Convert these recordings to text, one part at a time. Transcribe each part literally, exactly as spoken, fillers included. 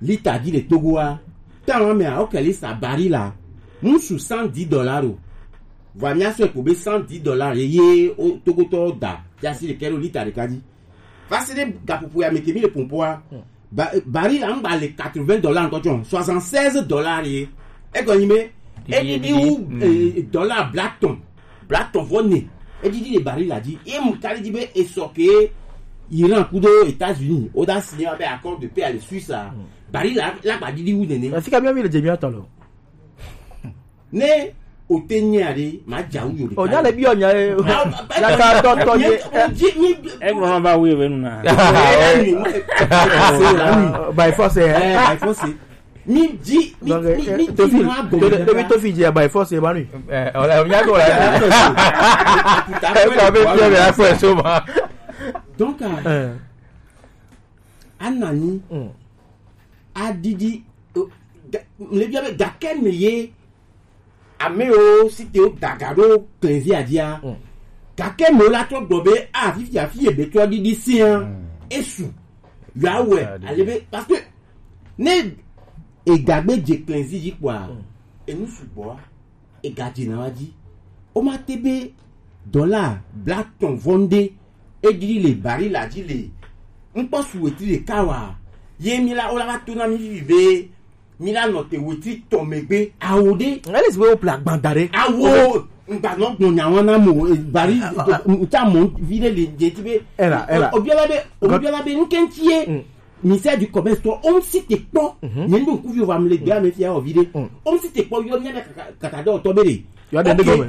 Lita di le Togo a. Tan wa mea, o kɛli sa baril la. Musu cent dix dollars o. Vɔ mia sɔ ko be cent dix dollars ye, ye o Togo tɔ da. Ya si le kɛlo lita de kadi. Parce que gapopo ya meke mi le pompo a. Ba, baril la ngba le quatre-vingts dollars encore, soixante-seize dollars ye. E ko nyi me. E di di u, eh, dollar black ton. Black ton vɔ ne. E di di le baril la di. E mu kali di be e sɔ ke Iran kudo États-Unis. O da signé be accord de paix à la Suisse a. Baril la, la gba di di u nene. Fika mi mi le jemi atɔ lo. Ne o te nya ɖe, ma dza wu yo ɖeka. O nya le bi o nya e. Ya ka tɔ tɔ ye. Egblɔ na ba wu eve nu na. By force, eh. By force. Mi dzi, mi, donc, mi, eh, mi dzi tofi, ma gbɔ. Tofi dzi by force, ma nu. Eh, o la, o nya ko la. Putain, ko be bi o be a fo so ma. Donc, euh, Anani, adidi, eh, ga-, le bia be gakɛ me ye, ame o si te o daga ɖo klezi adia. Gakɛ me o la trɔ gbɔ be, a, fifi afi ye be trɔ didi sia. Esu. Ya wɛ, ale be, parce que ne e gagbe je klezi yi kpɔa, enu sugbɔ a. Egadze na wa dzi. O ma te be dɔla blatɔn vɔ nde edidi le bari la dzi le ŋkpɔ su wetri ɖeka wa. Ye mi la, o la va to na mi vivi be mi la nɔ te wetri tɔn megbe. Awo ɖe. Ele si be wo ple agban da ɖe. Awo ŋgba nɔ gbɔn nya wɔn na mo, eh, bari, ah, ah, ah. Ŋtsa mɔ vi ɖe le dze ti be. Ela, ela. Obiala be, obiala be ŋkɛntsi ye. Ministère du commerce tɔ, o ŋsi te kpɔ. Nye ŋdu ŋkuvi va mle gbea me fia o vi ɖe. O ŋsi te kpɔ yɔ mia kaka, kaka ɖe otɔ be ɖe. Yɔ ɖe ɖe gɔme.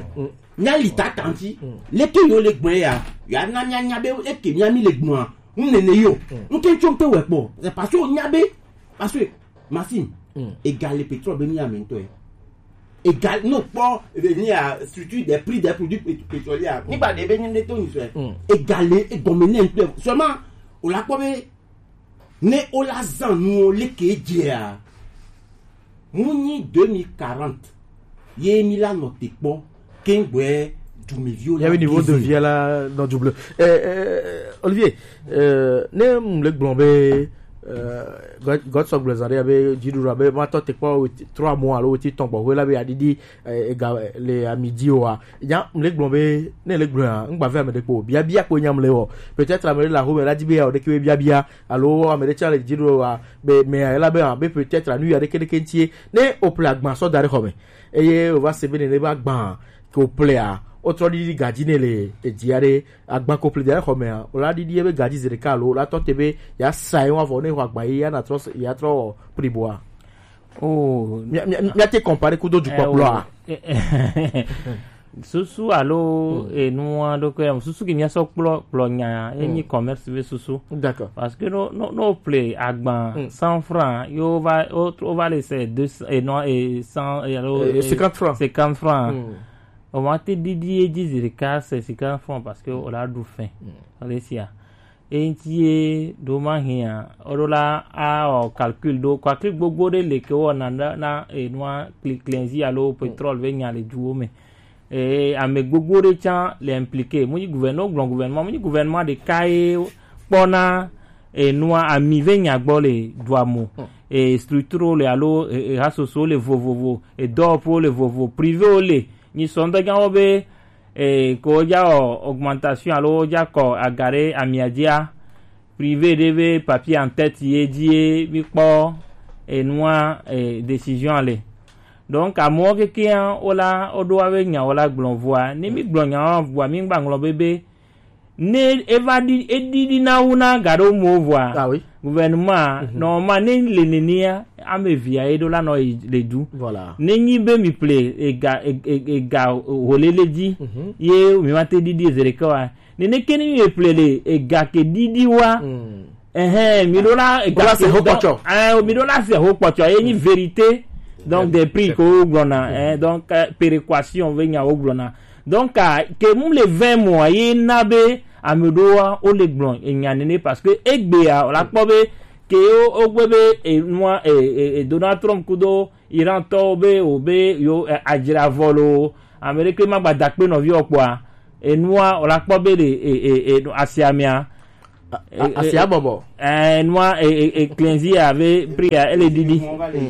Mia li ta tanti. Leke yo le gbɔn ya. Ya na mia nya be eke mia mi le gbɔn a. Ŋ nene yo. Ŋke tso ŋke wɛ kpɔ. C'est parce que o nya be. Parce que Maxime, égal le pétrole be mi ame ŋtɔ ye. Égal, no kpɔ, eh, ni a structure des prix des produits pét-, pétroliers. Ni ba de be ni de to ni so. Égal le, e gɔme ne ŋtɔ. Seulement, o la kpɔ be, ne o la zan nu o leke dzea, mu nyi deux mille quarante, ye mi la nɔ te kpɔ, kengbe dumeviwo la. Il y avait niveau de vie là dans double. Euh, euh, Olivier, euh, ne m le gblɔ be, euh, God, God sɔ gblɔ zan ɖe be dziɖuɖu be ma tɔ te kpɔ trois mois alo weti tɔn gbɔ hwe la be adidi, eh, ega, eh, le amidi o a. Ya m le gblɔ be, ne le gblɔ a, ŋgba ve ame ɖe kpo. Bia, bia kpo nya m le wɔ. Peut-être ame ɖe la home la di be ya o ɖe ke be bia, bia. Alo ame ɖe tsã le dziɖuɖu wa be mea ela be, ah, be peut-être anu ya ɖeke ɖeke ŋutie ne o ple agban sɔ da ɖe xɔ me eye o va se be nene be agban ke o plea o trɔ ɖiɖi gadzi ne le edzia ɖe agban ko ple da ɖe xɔ mea o la ɖiɖi ebe gadzi zi ɖeka alo o la tɔ te be ya sa ye wa vɔ ne xɔ agban yi ya na trɔ se ya trɔ priboa. Oh, mia, mia, mia te comparer kudo dukɔ kplɔa. Susu alo enua ɖo ke susu ke mia sɔ kplɔ kplɔ nya enyi commerce be susu. D'accord. Parce que no no no ple agban cent francs yo va o va le se deux cents et non et cent et alo cinquante francs. Cinquante francs. O ma te didi e didi zirika se cinquante francs parce que o la du fin. Allez sia. Eŋuti ye ɖo ma hia, o ɖo la a wɔ calcul ɖo, calcul gbogbo ɖe le ke wɔna na, na enua kli-, klɛnzi alo pétrole be nya le duwo me. Ee, ame gbogbo ɖe tsã le impliqué. Mu nyi gouverneur, gblɔ gouvernement, mu nyi gouvernement ɖeka ye kpɔna enua ami ve nya gbɔ le dua mo. E structure le alo e, e hasoso le vovovo, e dɔwɔƒewo le vovo, privé wo le. Nyi sɔndɔgãwo be e, ko wodza wɔ augmentation alo wodza kɔ aga ɖe amia dzia, privé ɖe be papier en tête ye dzie mi kpɔ enua e, décision le. Donc amewo kekeŋ wola woɖo abe nya wola gblɔ vɔa, ne mi gblɔ nya vɔa mi gba ŋlɔ be be ne eva ɖi eɖiɖi na wu na ga ɖo mo vɔa. Ah oui. Gouvernement nɔ ma ne le nenea ame via ye ɖo la nɔ yi le du. Voilà. Ne nyi be mi ple ega e, e, ega holele dzi ye mi ma te ɖiɖi ezereke wa. Nene ke ni mi ple le ega ke ɖiɖi wa. Ɛhɛn, mi ɖo la ega se ho kpɔtsɔ. Ɛhɛn, mi ɖo la se ho kpɔtsɔ ye nyi vérité. Donc des prix ko gblɔna, ɛhɛn, donc péréquation ve nya wo gblɔna. Donc ke mu le vɛ mo ye na be ame ɖo wa o le gblɔ enya nene parce que egbea o la kpɔ be ke o o gbe be enua e, e, e Donald Trump kudo Iran tɔwo be o be yo e, adzra vɔ lo ame ɖe ke ma gba da kpe nɔvi o kpɔa enua o la kpɔ be le e, e, e, asia mea A- a- asi abɔbɔ. Eh, nua e e e cleansi ave pria ele didi.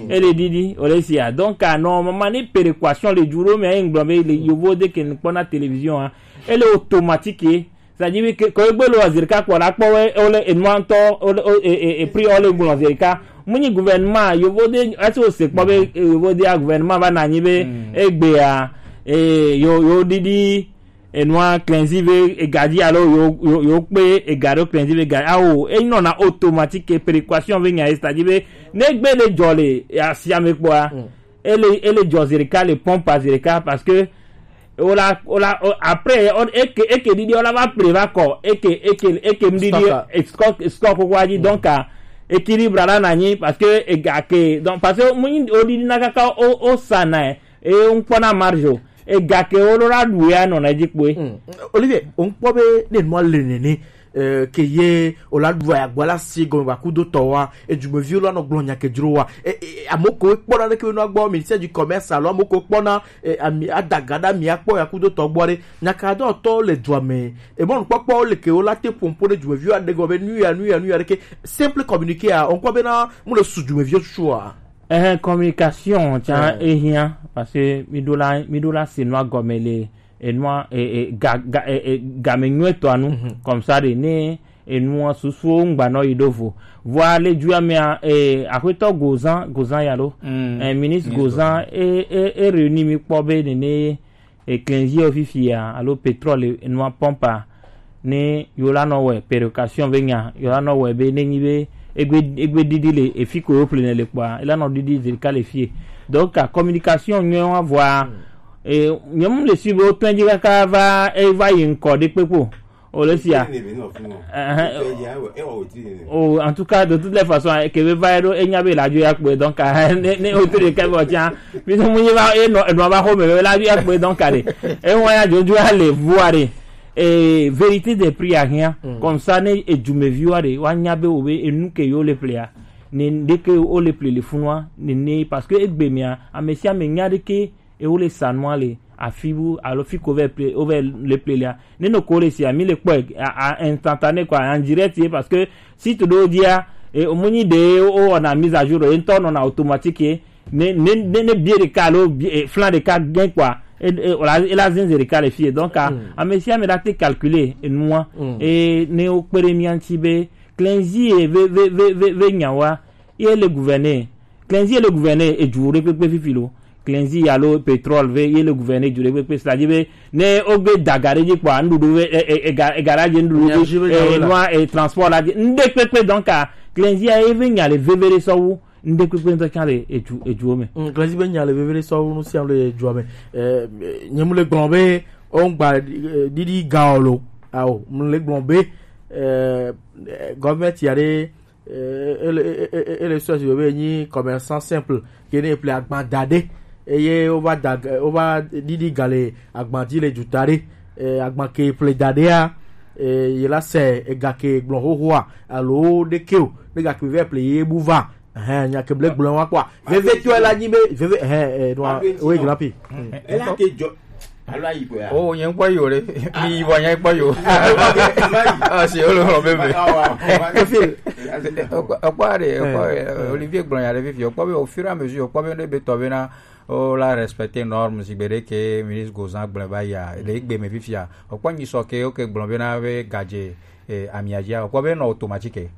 Ele didi ole sia. Donc ah, normalement ni péréquation le duro mais en gblɔ be le yovo de ke kpɔna télévision ah. Ele automatique. C'est-à-dire que ko egbe lo azirika kpɔ la kpɔ we ole enua ntɔ ole e e e pri ole gblɔ azirika. Munyi gouvernement yovo de ati o se kpɔ be yovo de gouvernement va na nyi be egbe ah, eh, yo yo didi enua cleansi ve ega dzi alo yo yo yo kpe ega ɖo cleansi ve ega awo enɔna automatique. Péréquation ve nya ye, c'est-à-dire be ne gbe ɖe dzɔ le asiame kpɔa ele ele dzɔ zereka le pompe azereka parce que wola wola o- après o- eke eke ɖiɖi wola va ple va kɔ eke eke eke ŋɖiɖi Stock. E stock stock koko dzi donc ah, équilibre la na nyi parce que ega ke donc parce que mu nyi o ɖiɖi na kaka o o sa na e ŋkpɔna marge o. Ega ke wo ɖo la ɖu ya nɔna edzi kpoe. Olivier, o ŋkpɔ be ne nua le nene, eh, ke ye o la ɖu ya gba la si gɔme ba kudo tɔ wa, edumeviwo la nɔ gblɔ nya ke dzro wa. E, e, amo ko kpɔna ɖe ke nua gbɔ, ministère du commerce alo amo ko kpɔna, eh, ami adaga ɖa mi akpɔ ya kudo tɔ gbɔ ɖe. Nya ka do tɔ le dua me. E mɔ nukpɔkpɔ le ke wo la te pompo ɖe dumeviwo aɖe gɔ be nu ya nu ya nu ya ɖe ke simple communiqué a, o ŋkpɔ be na mu le su dumeviwo susu a. Ehe, communication tsã Eh. Ehiã parce que mi ɖo la mi ɖo la se nua gɔme le enua e e ga ga e e game nyuietɔa nu comme ça ɖe ne enua susuwo ŋgba nɔ yi ɖo vo. Vɔa le dua mea e aƒetɔ Gozan Gozan ya lo Mm. Eh, ministre Gozan e e e réuni mi kpɔ be nene e cleansi o fifia alo pétrole enua pompe a ne yo la nɔ wɛ péréquation ve nya yo la nɔ wɛ be ne nyi be egbe egbe ɖiɖi le efi ko yo ple ne le kpɔa e la nɔ ɖiɖi zerika le fie. Donc ah, communication nyɔ wa vɔa e nyɔnu le si be o tɔn dzi kaka va e va yi ŋkɔ ɖe kpekpo o le sia. Ɛhɛn, o- o en tout cas de toutes les façons eh, ke be va ɖo e nya be la dzo ya kpe donc ah, ne ne o to de ke bo tia mi so mu nyi va e nɔ enɔ va xɔ me be la dzo ya kpe donc ah, de e wa ya dzo dzo ale vua de eh, vérité des prix a rien comme ça ne edumeviwo ɖe wa nya be o be enu ke yo le plea ne ɖe ke o le ple le funua ne ne parce que egbe mea ame sia ame nya ɖe ke e wo le sa nua le afi bu alo fi ko vɛ ple o vɛ le ple lea ne no ko le sia mi le kpɔ a a instantané quoi en direct ye parce que si to do dia e o mu nyi de o o na mise à jour e ntɔ nɔ na automatique ye ne ne ne ne bie ɖeka alo bie e flan ɖeka gɛn quoi e e o la e la zinze ɖeka le fie donc ah, ame sia ame la te calculer enua e ne o kpe ɖe mia ŋuti be cleansi ye ve ve ve ve ve nyawa ye le gouverner cleansi ye le gouverner edu ɖe kpekpe fifi lo cleansi alo pétrole ve ye le gouverner edu ɖe kpekpe c'est-à-dire be ne o gbe daga ɖe dzi kpɔa nuɖuɖu ve e e e ga e ga la dze nuɖuɖu Énergie ve dzi nyawo e la. Nua e transport la dzi nuɖe kpekpe donc ah, cleansi ya ye ve nya le veve ɖe sɔwu nuɖe kpekpe ŋutɔ tsã le edu eduwo me. Mm, Glenzi be nya le veve ɖe sɔ nu sia nu le edua me. Eh, nye mu le gblɔ be o ŋgba eh, ɖiɖi ga o lo. Ao, mu le gblɔ be eh, eh, gɔvmɛnti ya ɖe eh, ele ele ele sɔ si be nyi commerçant simple ke ne ple agban da ɖe eye o va da o va ɖiɖi ga le agban dzi le duta ɖe eh, agban ke ple da ɖea eh, ye la se ega ke gblɔ xoxoa alo ɖeke o ne ga ke vɛ ple ye bu va. Ɛhɛn, nya ke ble gblɔ wa kpɔa. Veve tɔ la nyi be veve ɛhɛn eh, no, oui, grand pi. Ela ke jɔ alo ayi ko ya. Oh, nye kpɔ yo le. Mi yi bɔ nye kpɔ yo. Ah, si o le hɔn bebe. Efil. Ekpɔ de, ekpɔ Olivier gblɔ nya ɖe fifi. Ekpɔ be au fur et à mesure, ekpɔ be ne be tɔ be na o la respecter norme si gbe ɖe ke ministre Gozan gblɔ ba ya. Le gbe me fifi a. Ekpɔ nyi sɔ ke o ke gblɔ be na be gadze eh, amia dzi a. Ekpɔ be nɔ automatique.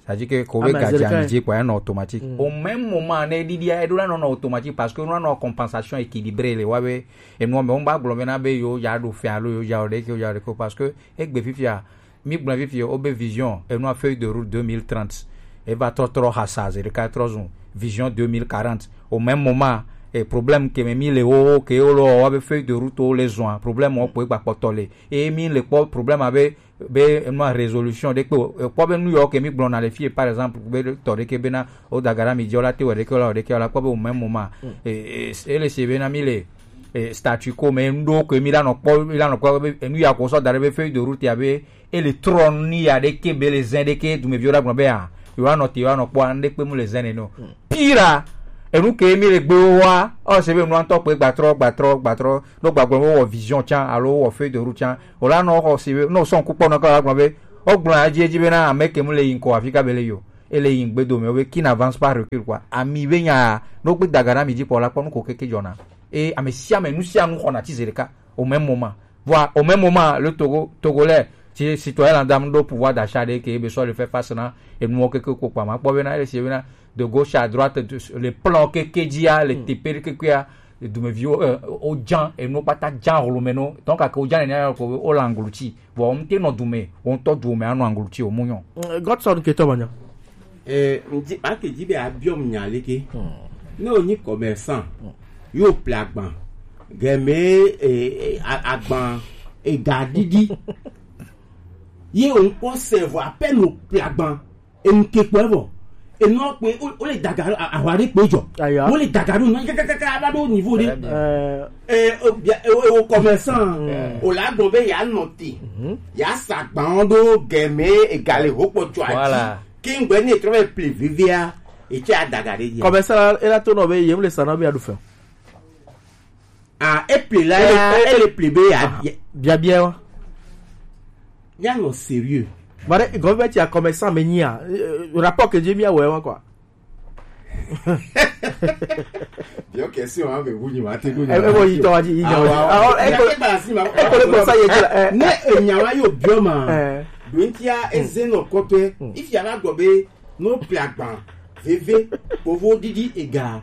C'est-à-dire que ko be gadze ami dzi kpɔ enɔ automatique. Au même moment ne ɖiɖia eɖo la nɔ nɔ automatique parce que nɔ nɔ compensation équilibrée le wa be enua me wo ba gblɔ be na be yo ya ɖo fɛ alo yo ya o ɖe ke yo ya o ɖe ke parce que egbe fifia mi gblɔ fifia o be vision enua feuille de route deux mille trente eva trɔ trɔ hasa ze ɖeka trɔ zun vision deux mille quarante au même moment et problème ke me mi le wo ke wo lo wa be feuille de route wo le zua problème wo kpɔ egba kpɔtɔ le et mi le kpɔ problème abe be enua résolution ɖe kpe o. Ekpɔ be nu yɔ ke mi gblɔna le fie par exemple be tɔ ɖe ke bena o dagara mi dzi o la te wɔ ɖe ke o la wɔ ɖe ke o la kpɔ be o même moment e e e le se bena mi le e statu quo me nu ɖo ke mi la nɔ kpɔ mi la nɔ kpɔ be enu ya ko sɔ da ɖe be feuille de route ya be e le trɔ ni ya ɖe ke be le zɛn ɖe ke dumeviwo la gblɔ be a yo anɔ te yo anɔ kpɔ an ɖe kpe mu le zɛn ne no pira enu ke mi le gbe wo wa o se be nu antɔ kpe gbatrɔ gbatrɔ gbatrɔ no gbagblɔ wo wɔ vision can alo wo wɔ feuille de route can o la nɔ xɔ si be no sɔn kukpɔ nɔ ka gblɔ be O gblɔ ya dzi edzi bena ame ke mu le yi ŋkɔ afi ka be le yo. Ele yi ŋgbe dome wo be qui n'avance pas recule quoi. Ami be nya no gbe daga na mi dzi pɔ la kpɔ nu ko keke dzɔna. E ame sia ame nu sia nu xɔna ti zeɖeka au même moment. Voilà, au même moment le Togo Togolais ti citoyen lambda mu ɖo pouvoir d'achat ɖe ke be sɔ le faire face na enuwo keke ko kpa ma kpɔ bena ele si bena de gauche à droite de, le plan keke dzia le tepe ɖe kekea dumeviwo eh, o jan enu kpata jan holo me no donc ake o jan ne ko o la ngluti. Vɔ ŋute nɔ dume o ŋutɔ dume anɔ angluti o mu nyɔ. Godson ke tɔ manya. Eh, ŋdi ake dzi be abiɔ mu nya leke. Ne o nyi commerçant yo ple agban gɛmɛ eh, eh, a- agban ega didi ye o ŋkpɔ sɛ vɔ apɛ no ple agban eŋke kpɔ evɔ enɔ kpe o le daga ahwa ɖe kpe jɔ o le daga ɖo nɔ kakakaka ava ɖo niveau ɖe. Ɛ o bia o o commerçant o la gbɔn be ya nɔ te ya sa gban ɖo gɛmɛ egale ho kpɔ tsɔ ati ke ŋgbɛ ne trɔ bɛ ple vevia etsɛ adaga ɖe dzi. Commerçant la ela to nɔ be yem le sa na be aɖu fɛ. Ah, eple la ya ele ple be ya biabia wa. Míanɔ sérieux. Bare gɔvɛti a commerçant me nyia rapport ke dzi mía wɔ wa quoi. Biɔ question wa be bu nyi wa te do nyi. E bo yi tɔ wa dzi yi nya wa. Ah, e ko e ko le ko sa ye dzi la. Ne enya wa yo biɔ ma. Dontia eze nɔ kɔtɔe. Ifi ala gbɔ be no ple agban veve povo didi ega.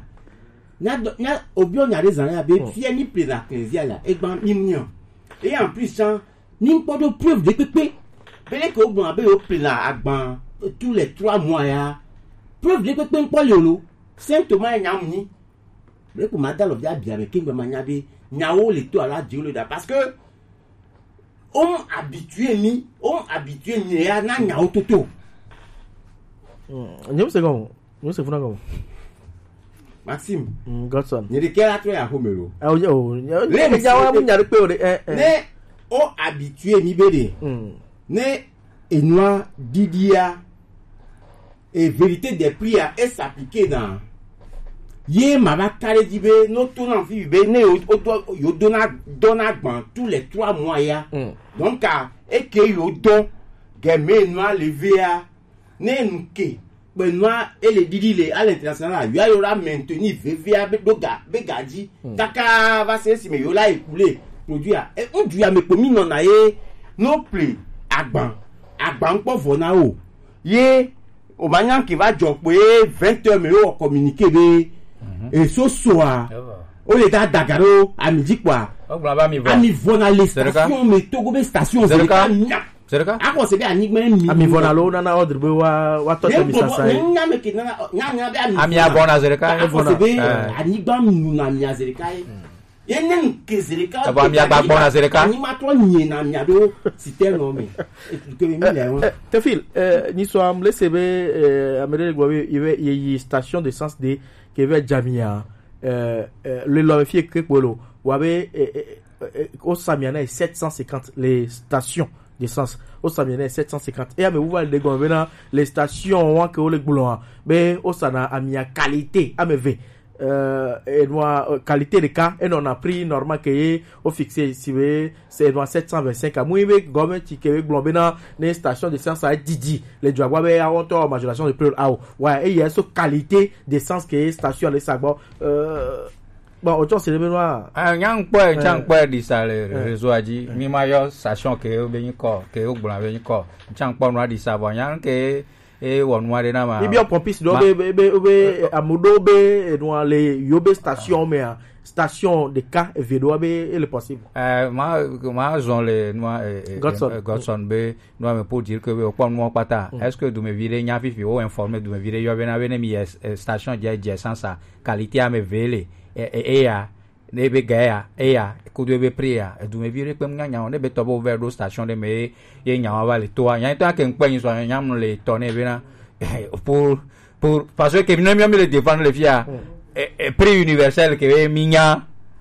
Nya dɔ nya obiɔ nya ɖe zan ya be fia ni ple na klezia ya egban mi mu nya. Et en plus tsã ni ŋkpɔ ɖo preuve ɖe kpekpe be leke wo gblɔna be yewo plena agban tous les trois mois ya. Preuve ɖe kpekpe ŋkpɔ li o lo. Saint Thomas nya mu nyi. Be ko ma da lɔ via bia me kengbe ma nya be nyawo le to ala dzi wo le da parce que on habitué mi on habitué mi ya na nyawo toto. Nyem se gɔn. Nyem se funa gɔn. Maxime. Godson. Nye ɖekɛ la trɔ ya xome lo. Awo nye o. Le ŋdza wa mu nya ɖe kpe o ɖe. Ne o habitué mi be ɖe ne enua didia e vérité des prix a e s'appliquer na ye ma va ka ɖe dzi be no to na fi be ne yo o do yo do na dɔ na gban tous les trois mois ya. Donc a e ke yo dɔ gɛmɛ enua le vea ne nu ke kpenua ele didi le à l'international la yɔ ayɔ la maintenir vevia be ɖo ga be ga dzi kaka va se esime yewo la écoulé produit a e ŋdu ya me kpo mi nɔna ye no ple agban agban ŋkpɔ vɔ na wo ye o ma nya ke va dzɔ kpo ye vingt heures me yo wɔ communiqué be eso soa o le da daga ɖo ami dzi kpɔa ami vɔ na le station me togo be station zerika nya. Zerika. Akɔ se be anyigba mi. Ami vɔ na lo nana ordre be wa wa tɔ tɛ mi sasa ye. Nya me ke nana nya nya be ami. Ami avɔ na zerika. Akɔ se be anyigba mi na mi azerika ye. Ye ne ke zerika. Abo ami agba gbɔ na zerika. Anyigba tɔ nye na mi ado sitɛ nɔ mi. Ke mi le wa. Tefil, ni so am lese be amere gbo be ye yi station d'essence de ke ve jamia. Le lɔ fie ke kpolo wa be o samia na sept cent cinquante les stations d'essence. O samia na sept cent cinquante. E ame wuva le gɔme bena les stations wa ke wo le gblɔa be o sana amia qualité ame ve. Euh, enua euh, qualité ɖeka enɔna prix normal ke ye o fixe si be c'est enua sept cent vingt-cinq amu be gɔmɛnti ke be gblɔ bena ne station d'essence a didi le dzɔagba be awɔtɔ majoration de prix awo wa eye so qualité d'essence ke station le sagbɔ. Euh, Bon, o tsɔ si ɖe be nua. Ah, nya ŋkpɔe, nya ŋkpɔe ɖi sa le réseau a dzi. Mi ma yɔ station ke wo be nyikɔ, ke wo gblɔ be nyikɔ. Nya ŋkpɔ nua ɖi sa vɔ nya ke e wɔ nua ɖe na ma. Mi biɔ pompiste ɖo be be be be amu ɖo be enua le yo be station mea, station ɖeka eve ɖo be ele possible. Eh, ma ma zɔn le nua eh, eh, Godson. Eh, Godson be nua me pour dire que o kpɔ nua kpata. Est-ce que dumevi ɖe nya fifi o informer dumevi ɖe yɔ be na be ne mi yɛ eh, station dze dze sansa qualité ame eve le eya ne be ga ya eya kudo ebe prix ya edumevi ɖe kpe ŋu nyanya o ne be tɔ be wovɛ ɖo station ɖe me ye nya wa va le toa nya tɔ ke ŋkpɛ nyi sɔ nya mu le tɔ ne be na pour pour parce que mi ne mi mi le défendre le fia prix universel ke be mi nya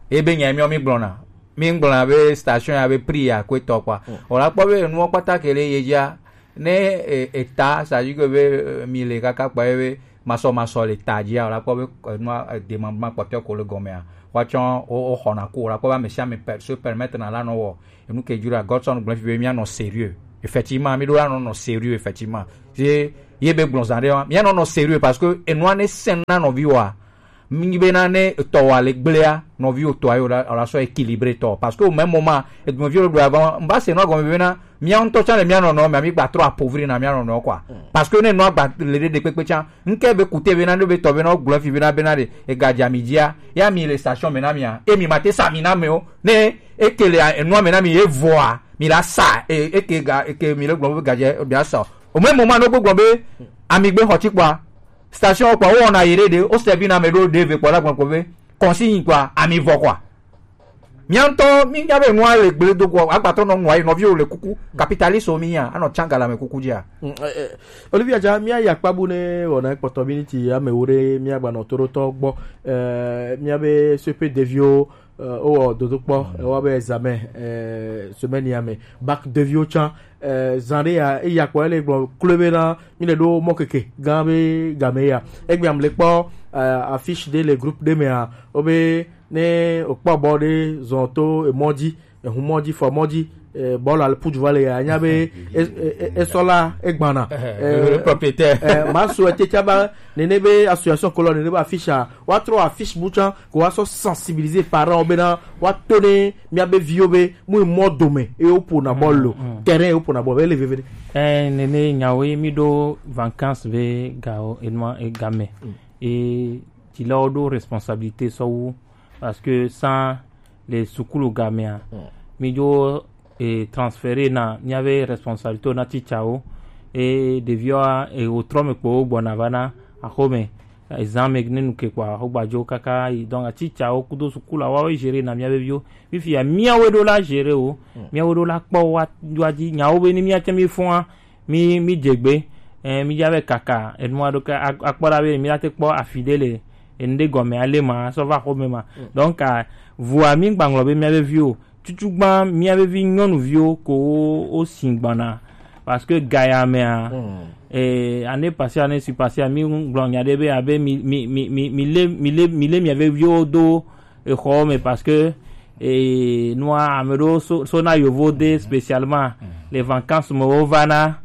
ebe nya mi mi gblɔna mi gblɔna be station ya be prix ya ko etɔ kpa o la kpɔ be nuwo kpata ke le ye dzia ne eta sa yi ke be mi le kaka kpa ye be masɔmasɔ le ta dzia o la kpɔ be enua demandement kpɔtɔe ko le gɔmea woatsɔ woxɔna ku o la kpɔ be ame sia ame se permettre na la nɔ wɔ enu ke dzro Godson gblẽ fi be míanɔ sérieux Effectivement, mi ɖo la nɔ nɔ sérieux, effectivement. Ye, ye be gblɔ zã ɖe wa. Mi anɔ nɔ sérieux parce que enua ne sɛn na nɔvi wa. Mi bena ne etɔ wa le gblea, nɔvi wo tɔ ayo la, la sɔ équilibré tɔ. Parce que au même moment, edumevi ɖo ɖo avant, mba se nɔ gɔme bena, mia ŋutɔ tsa le mia nɔnɔ, mia mi gba trɔ appauvrir na mia nɔnɔ quoi. Parce que ne nɔ agba le ɖe kpekpe tsa, nke be kute bena, ne be tɔ bena, gblɔ fi bena, bena ɖe, ega dza mi dzia, ya mi le station me na mia, e mi ma te sa mi na me o, ne eke le enua me na mi, e vɔa, mi la sa, e, eke ga, eke mi le gblɔ be gadze, mi la sa o. Au même moment, no gbɔ be, ami gbe xɔ tsi kpɔa, station kpɔa, wo wɔna yi ɖe ɖe, wo sɛbi na me ɖo ɖe ve kpɔ la gblɔ kpɔ be, consigne kpɔa, ami vɔ kpɔa. Mia ŋutɔ, mi nya be nua le gble do kpɔa, agbatɔ nɔ nua yi, nɔviwo le kuku, capitaliste wo mi nya, anɔ tsanga la me kuku dzia. Mm, eh, eh, Olivia dza, mia ya kpabu ne wɔna kpɔtɔ miniti ame wo ɖe, mia gbanɔ to ɖo tɔ gbɔ, eh, mia be C P deviwo, eh, wowɔ dodokpɔ, eh, wobe examen, eh, semaine ya me, bac deviwo tsã, eh, zã ɖe ya, eya kpɔ ele gblɔ klo be na, mi le ɖo mɔ keke gã be game ya. Egbe am le kpɔ, eh, affiche ɖe le groupe ɖe mea, wobe ne okpɔ bɔ ɖe zɔn to emɔ dzi, ehun mɔ dzi, fɔ mɔ dzi, eh, bɔl al puj va le ya, nya be e, e, e, esɔ la egbana. Eh, eh, propriétaire. Eh, ma so ete tsa ba nene be association kolɔ nene be affiche a, wa trɔ affiche bu tsã, ko wa sɔ sensibiliser parents bena wa to ne mia be viwo be mu mɔ dome e wo pona bɔl lo, terrain e wo pona bɔl be le veve ɖe. Eh, nene nyawo ye mi ɖo vacances be gawo enua egame. E ti la wo ɖo responsabilité sɔ wu parce que sans le sukulu gamea, mi dzo e transféré na miabe responsabilité na teacherwo, e ɖeviwa e wotrɔ me kpo wo gbɔna va na axome, ezã me ne nu ke kpɔa, wo gbadzo kaka yi. Donc teacherwo kudo sukulu wa wo gérer na miabe viwo. Fifia miawo ɖo la gérer wo, miawo ɖo la kpɔ wa, wa dzi nyawo be ni mia tse mi fɔa, mi, mi dze gbe, eh, mi dza be kaka, enua ɖo ke a-, akpɔ ɖa be mi la te kpɔ afi ɖe le, enu ɖe gɔme ale ma, sɔ va xɔme ma. Donc, a, vua mi gba ŋlɔ be mia be viwo, tutu gba mia be vi nyɔnuviwo ko wo, wo si gbana. Parce que gaya mea, eh, année passée, année surpassée, mi gblɔ nya ɖe be abe mi, mi, mi, mi, mi le, mi le, mi le mia be viwo do exɔ me parce que, eh, nua ame ɖewo so, so na yovo de spécialement les vacances me wo va na,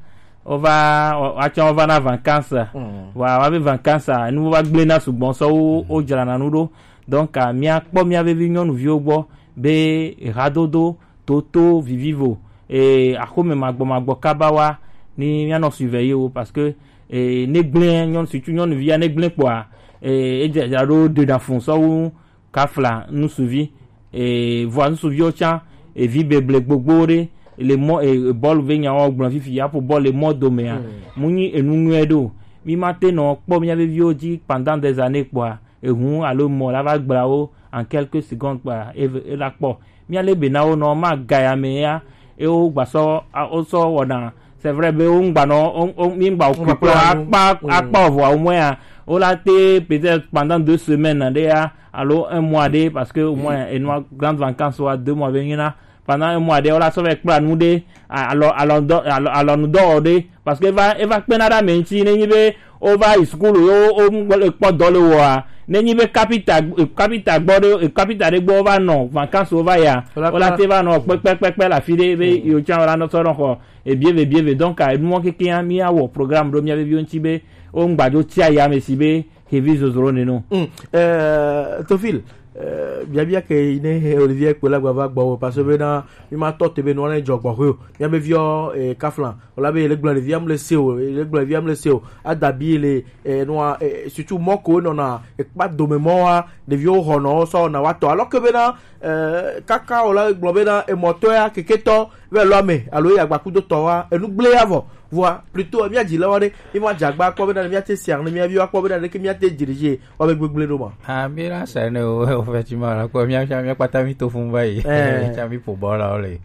wo va, wa tsɔ wo va na vacances. Wa, wa be vacances a, nu va gble na sugbɔ sɔ wo, wo dzra na nu ɖo. Donc, a, mia kpɔ mia be vi nyɔnuviwo gbɔ be hadodo, toto, vivivo, eh, axome magbɔ magbɔ kaba wa, ni mia nɔ surveiller wo parce que, eh, ne gble nyɔnu, surtout nyɔnuvia ne gble kpɔa, eh, e dzra ɖo de na fun sɔ wu kafla nusuvi, e, vɔa nusuviwo tsã, evi beble gbogbo ɖe, le mɔ, e, e, bɔlu ve nyawo gblɔ fifi, aƒo bɔlu le mɔ domea, mu nyi enu nyuie ɖo. Mi ma te nɔ kpɔ mia be viwo dzi pendant des années kpɔa, ehu alo mɔ la va gbla wo en quelques secondes kpɔa, e, e la kpɔ. Mia le be na wo nɔ ma ga ya me ya, e wo gba sɔ, a, wo sɔ wɔna. C'est vrai be wo ŋgba nɔ, wo, wo, mi ŋgba wo kpekpe akpa, akpa ovɔ wo mɔ ya. Wo la te peut-être pendant deux semaines ɖe ya, alo un mois ɖe, parce que au moins, enua grande vacances wa deux mois be nyina. Pendant un mois ɖe, wo la sɔ va kpla nu ɖe, a-, alɔ, alɔ dɔ, alɔ, alɔ nu dɔ ɖe, parce que eva, eva kpena ɖe ame ŋuti, ne nyi be wo va yi sukulu, yo, wo, wo kpɔ dɔ le wɔa, ne nyi be kapita, kapita gbɔ ɖe, kapita ɖe gbɔ wo va nɔ, vacances wo va ya, wo la te va nɔ kpekpekpekpe le afi ɖe, be yo tsã wo la nɔ sɔ nɔ xɔ, ebie ve, bie ve. Donc, a, enumɔ kekea, mi awɔ programme ɖo mia be viwo ŋuti be, wo ŋgba dzo tsia ya me si be, hevi zozro nenu. Mm. Euh, Tofil, euh, biabia ke yi ne Olivier kpe la gba va gbɔ wo, parce que bena mi ma tɔ te be nua ne dzɔ gbɔ ho. Mia be viɔ, eh, kaflan. Ola be le gblɔ le via mle se o, le gblɔ le via mle se o. Adabi le, eh, nua, eh, surtout mɔ ko nɔ na, eh, kpa dome mɔ wa, le viɔ ho nɔ sɔ na wa tɔ. Alors que bena, eh, kaka ola gblɔ bena, eh, mɔtɔ ya, keketɔ, ve lɔ me, alo ya gba kudo tɔ wa, enu gble ya vɔ. Vɔa, plutôt, mia dzi le wa ɖe, mi ma dza gba kpɔ bena, mia te sia, ne mia viwa kpɔ bena, ɖeke mia te diriger, wa be gbegble ɖo ma. Ah, mi la sa ne o, o fɛ ti ma la kpɔ, mia, mia, mia kpata mi to fun va yi. Eh. Mia mi po bɔ la o le.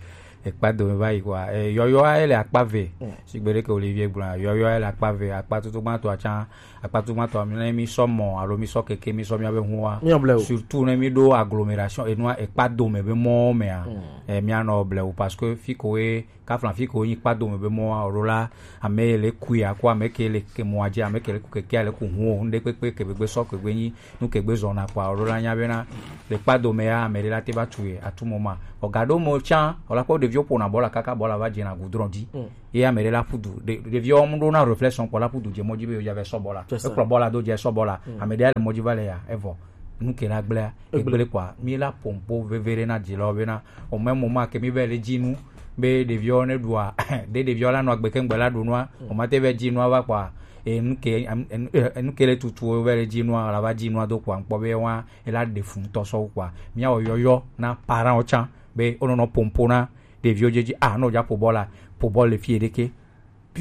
Ekpa dome va yi quoi. Eh, yɔyɔa ele akpa ve. Mm. Sigbe ɖe ke Olivier gblɔ, yɔyɔa ele akpa ve, akpa tutu gbatɔ atsã, akpa tutu gbatɔ mi ne mi sɔ mɔ, alo mi sɔ keke, mi sɔ mia be hua. Mi ble o. Surtout ne mi ɖo agglomération, enua ekpa dome be mɔ mea. Mm. Eh, mia nɔ ble o parce que fi ko e Kafla fi ke wonyi kpa dome be mɔa, alo la, ame le kui ako, ame ke le ke mɔa dzi, ame ke le ku keke, le ku hu o, ŋɖe kpekpe ke be gbe sɔ ke gbe nyi, nu ke gbe zɔna kpa, alo la nya bena, le kpa dome ya, ame ɖe la te va tu ye, atu mɔ ma. O ga ɖo mɔ tsã, o la kpɔ ɖeviwo ƒona bɔla kaka bɔla va dzena goudron dzi. Mm. Ye ame ɖe la ƒu du, ɖe-, ɖeviwo mu ɖo na réflexion kpɔ la ƒu du dze mɔ dzi be yo dza va sɔ bɔla. C'est ça. Ekplɔ bɔla do dze sɔ bɔla. Mm. Ame ɖe le mɔ dzi va le ya, evɔ. Nu ke la gblea, Egble. Egble kpɔa, mi la pompo veve ɖe na dzilawo bena, o même moment ke mi va le dzi nu, be ɖeviwo ne ɖua, ɖe ɖeviwo la nɔ agbe ke ŋgbe la ɖu nua, o ma te va dzi nua va kpɔa, e nu ke, em, em, e, nu ke le tutu wo va le dzi nua, la va dzi nua do kpɔa, ŋkpɔ be wa, e la ɖe fu ŋutɔ sɔ kpɔa. Mi awɔ yɔyɔ na parents wo tsã, be o nɔ nɔ pompo na ɖeviwo dzi dzi, ah, no dza po bɔla, po bɔl le fi ɖeke.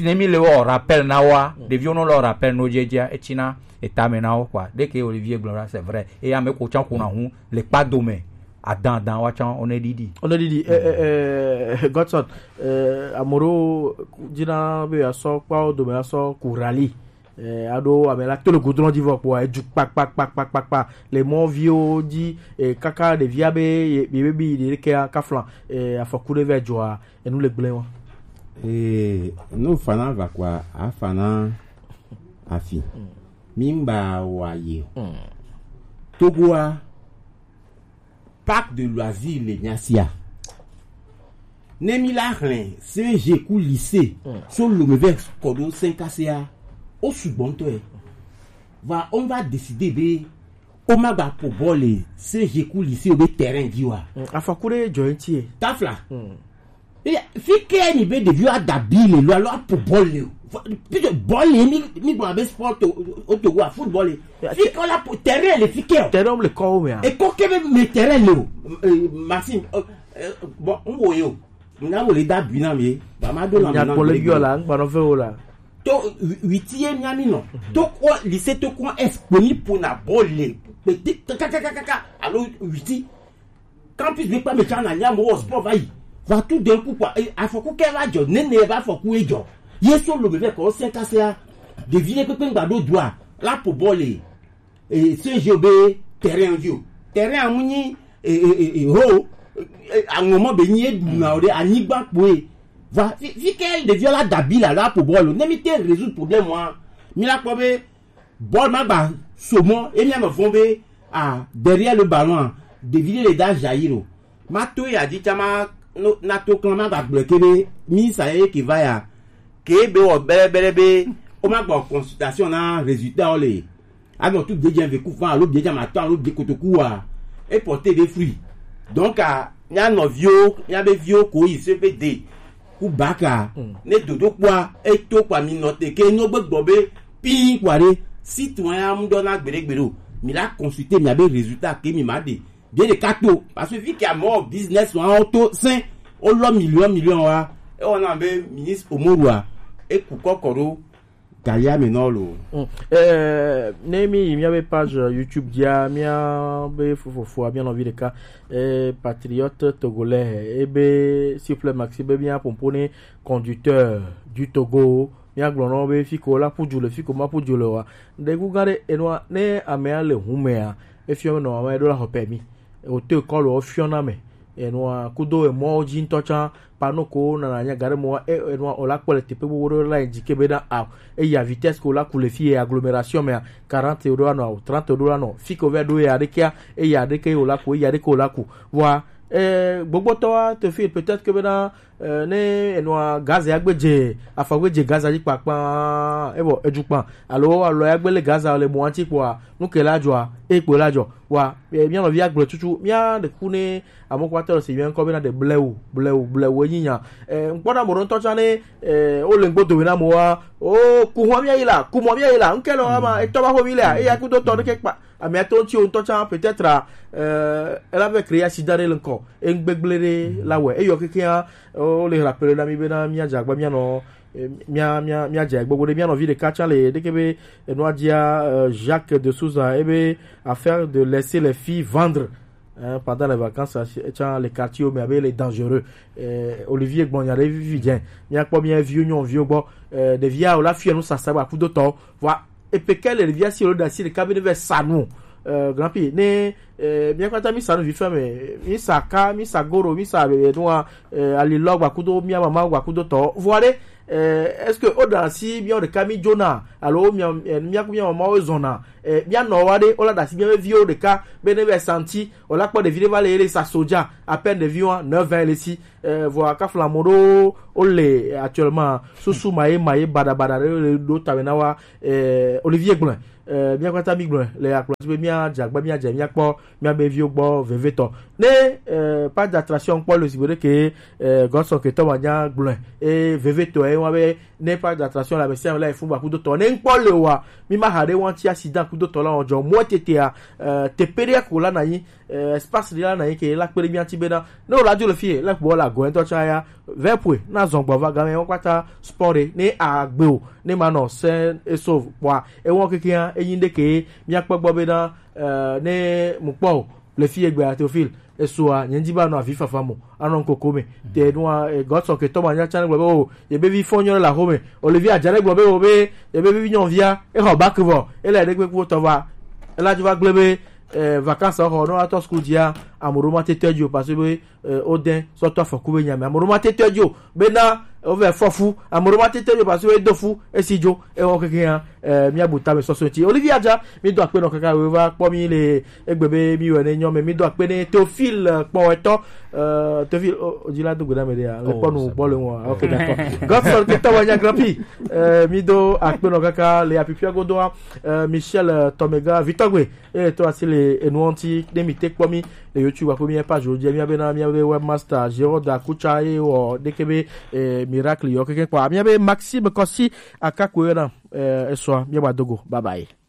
Ne mi le wɔ rappel na wa, ɖeviwo no le wɔ rappel no dzi dzia, etsina etame na wo kpɔa. Ɖeke Olivier gblɔ la, c'est vrai. Eye ame ko tsã ko na hu le kpa dome. Adan, adan wa tsã, o ne ɖiɖi. O ne ɖiɖi, eh, eh, eh, Godson, eh, ame ɖewo dzina be yeasɔ kpawo dome asɔ ku rali. Eh, aɖo ame la to le goudron dzi vɔ kpɔa, edu kpakpakpakpakpa. Le mɔviwo dzi, eh, kaka ɖevia be ye, ye be bi ɖe kea kafla, eh, afɔku ɖe vɛ dzɔa, enu le gblẽ wa. Ee, ne wofana va kɔa, afana afi. Mi ŋgba wa ye o. Togoa, parc de loisir le mia sia. Ne mi la hlẽ C G ku lycée, so lome vɛ kɔ ɖo cinq A C A, o sugbɔ ŋutɔ ye. Va, on va décider be o ma gba po bɔl le C G ku lycée o be terrain dzi wa. Mm, afɔku ɖe dzɔ ŋuti ye. Tafla. Mm. Eya, fi ke mi be ɖeviwo ada bi le lo alo apo bɔl le o. Fo-, puisque bɔl le mi, mi gbɔ abe sport to, o to wa football le. Ya, fi ke la po terrain le fi ke o. Terrain le kɔ o me a. E kɔ ke be me terrain le o. Eh, Maxime, eh, eh, bon, n wo ye o. N na wo le da bi na mi. Ba ma do na mi na. Nya kpɔ le bi o la, n gba nɔ fɛ o la. To wi-, witi ye mia mi nɔ. To ko lycée to ko es ko ni po na bɔl le. Pe ti kaka kaka kaka. Alo witi. Campus be kpa me tsã na nya mo wɔ sport va yi. Va tout d'un coup quoi. Eh, afɔku ke va dzɔ, nene va afɔku e dzɔ. Ye so lo me vɛ kɔ cinq A C A. Ɖevi ɖe kpekpe ŋgba ɖo dua. La po bɔl le. Eh, C G be terrain dzi o. Terrain amu nyi, eh, eh, eh, eh, ho. Eh, aŋɔ mɔ be nyi e ɖu na o ɖe anyigba kpoe. Va, fi, fi ke ɖeviwo la dabi la, la po bɔl o. Ne mi te résoudre problème wa, mi la kpɔ be bɔl ma gba so mɔ, e mi ame vɔn be, ah, derrière le ballon, ah, ɖevi ɖe le da jaillir o. Ma to ya dzi tsã ma, no, na to klã ma gba gblɔe ke be, mi sa ye ke va ya, ke be wɔ bɛrɛbɛrɛ be, o ma gbɔ consultation na résultat o le. Anɔ tu biedzã ve ku fan alo biedzã ma tɔ alo bie kotoku wa. E porter des fruits. Donc, ah, mia nɔviwo, mia be viwo ko yi C P D ku bac a, ne dodo kpɔa, e to kpɔa mi nɔ te ke nyo gbe gbɔ be pin kpɔa ɖe, si tun ya mu dɔ na gbeɖe gbeɖe o. Mi la consulter mia be résultat ke mi ma ɖe. Ɖe ɖeka to, parce que fi ke amɔ business wa o to sɛn, o lɔ million million wa, e wɔna be ministre Omorua, e ku kɔkɔ ɖo. Kaya me nɔ lo. Mm. Eh, ne mi yi mia be page YouTube dzia, mia be fofofo, mia nɔvi ɖeka, eh, patriote togolais, ebe, s'il vous plaît, Maxi, be mia pompo ne conducteur du Togo, mia gblɔ nɔ be fiko la ƒu du le, fiko ma ƒu du le wa. Ɖe gu gã ɖe enua, ne amea le humea, efiɔ nɔ ame ɖo la xɔ permis. Hoto kɔlu wo fiɔ na me. Enua kudo emɔwo dzi ŋutɔ tsã, pano ko nana nya gaɖe mɔ, e, enua o la kpɔ le teƒe gbogbo ɖe la dzi ke be na a, eya vitesse ko la ku le fi ye agglomération mea, quarante euro anɔ, trente euro anɔ, fi ko vɛ ɖo ya ɖekea, eya ɖeke o la ku, eya ɖeke o la ku. Vɔa, e, gbogbotɔa te fi peut-être ke be na, e, ne enua gaz ya gbe dze, afɔ gbe dze gaz dzi kpakpa, e bɔ edu kpa, alo alɔ ya gbe le gaz le mɔa ŋuti kpɔa, nu ke la dzɔa, e kpo la dzɔ. Wa, e, mia nɔvi agblɔ tutu, mia ɖe ku ne ame ko atɔ le si mia ŋkɔ bena ɖe blewu, blewu, blewu enyi nya. E, ŋkpɔ na mo ɖo ŋutɔ tsã ne, e, wo le ŋgbo dome na mo wa, o, ku hɔn mia yi la, ku mɔ mia yi la, ŋkɛ le wa ma, etɔ va xo mi lea, eya kudo tɔ ɖeke kpa, amea to ŋuti wo ŋutɔ tsã peut-être, e, ela vɛ créer accident ɖe le ŋkɔ, e ŋgbegble ɖe la wɛ, eyɔ kekea, o, le rappeler na mi bena mia dze agba mia nɔ, eh, mia, mia, mia dze gbogbo ɖe mia nɔvi ɖeka tsã le ɖeke be enua dzia, euh, Jacques de Souza ebe affaire de laisser les filles vendre, hein, pendant les vacances, euh, tsã le quartier me abe le dangereux. Eh, Olivier gbɔnya ɖe vivi dze. Mia kpɔ mia viwo nyɔnuviwo gbɔ. Eh, ɖevia o la fia nu sasa ba kudo tɔ. Vɔa, epe ke le ɖevia si o ɖe asi ɖeka be ne vɛ sa nu. Euh, Grand P, ne euh, mia kpata mi sa no vi fɛn mɛ, mi sa ka, mi sa goro, mi sa bebe nua, euh, ali lɔ gba kudo mia mama gba kudo tɔ. Voire, euh, est-ce que o da si mia o de ka mi jona, alo mia euh, mia ku mia mama o zona, euh, mia nɔ wa de o la da si mia vi o de ka be ne be santi o la kpɔ de vi de va le le sa soja à peine de vi wa neuf ans le si. Euh, voire ka fla mo do o le actuellement susu maye maye bada bada de do ta na wa euh, Olivier Gblɔn. Euh, mia kpata mi gblɔn le akplɔ ti be mia dze agba mia dze mia kpɔ mia be viwo gbɔ vevetɔ. Ne euh, pas d'attraction kpɔ le sigbe ɖe ke euh, gɔsɔ ke tɔ ma nya gblɔn e vevetɔ e wa be ne pas d'attraction la be sia la e fun ba kudo tɔ ne nkpɔ le wa mi ma ha ɖe wa ti accident kudo tɔ la o jɔ mo tete a euh, te pe ɖe ko la na yi euh, espace ɖe la na yi ke la kpe ɖe mia ti be na ne o la dzo le fie la gbɔ la gɔ ŋutɔ tsa ya vɛ pue na zɔn gbɔ va game wo kpata sport ɖe ne agbe o ne ma nɔ sɛ eso kpɔa ewɔ keke ya eyin ɖe ke mia kpɔ gbɔ be na eh, ne mu kpɔ o le fie gbe a Théophile esoa nye ŋdi ba nɔ avi fafa mo anɔ nkoko me te nua eh, gɔtsɔ ke tɔ ma nya tsa ne gblɔ be o ye be vi fɔ nyɔ la xo me Olivier Adjane gblɔ be o be ye be vi nyɔvia exɔ bak vɔ ele ɖe kpekpe tɔ va ela dzo va gblẽ be eh, vacances xɔ ne woatɔ school dzia ame ɖewo mate tɔ edzi o parce que be eh, wode sɔtɔ afɔku be nyame ame ɖewo mate tɔ edzi o bena wovɛ fɔ fu ame ɖewo mate tɔ edzi o parce que edo fu esi dzo ewɔ keke hã eh, míabu tame sɔsɔ ŋuti Olivia dza mído akpe nɔ kaka weva kpɔ mí le egbe be mí wɛ ne nyɔ me mído akpe ne Théophile eh, kpɔwɛtɔ eh, Théophile o dzi la do gbe na me ɖe ya le kpɔ nu kpɔ le ŋua ok d'accord Godson ke tɔwɔ nya grand prix eh, mído akpe nɔ kaka le apipia godoa eh, Michel eh, Tomega Vitɔgbe eye to asi le enuɔ ŋuti ne mi te kpɔ mi le YouTube aƒe mi page wo dzi mia bena mia be webmaster Gérard Akutsa eye wɔ ɖeke be eh, miracle yɔ keke kpɔ mia be Maxime Kɔsi akakue yɔ na eh, esɔa mia ba dogo bye bye.